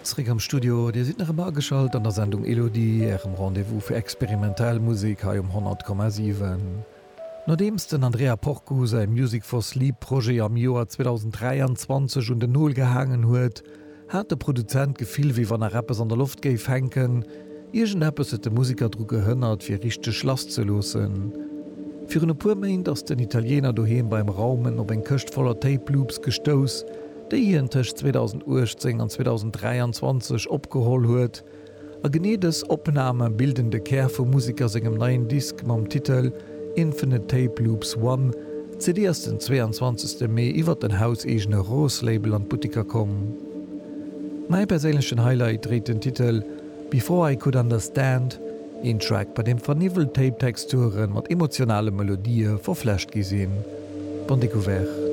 Zréck am Studio, Dir sidd nach ëmmer ageschalt an der Sendung Elodie, Ärem Rendez-vous fir experimentell Musek hei um 100,7. Nodeems den Andrea Porcu säi Music for Sleep Projet am Joer 2023 un den Nol gehaangen huet, hat de Produzent d'Gefill wéi wann nach eppes an der Loft géif hänken. Iergendeppes huet de Museker dru gehënnert fir richteg lass ze loossen. Virun e puer Méint ass den Italiener doheem beim Raumen op eng Këscht voller Tape Loops gestouss, déi hien tëscht 2018 an 2023 opgeholl huet. A genee dës Opname bilden de Kär vum Museker sengem neien Disk mam Titel Infinite Tape Loops One. D'CD ass den 22. Mee iwwer den hauseegene Rose-Label an d'Buttiker komm. Mäi perséinlechen Highlight dréit den Titel Before I Could Understand, een Track, bei deem verniwwelt Tape-Texture mat emotionale Melodië verflecht gi sinn. Bonne découverte!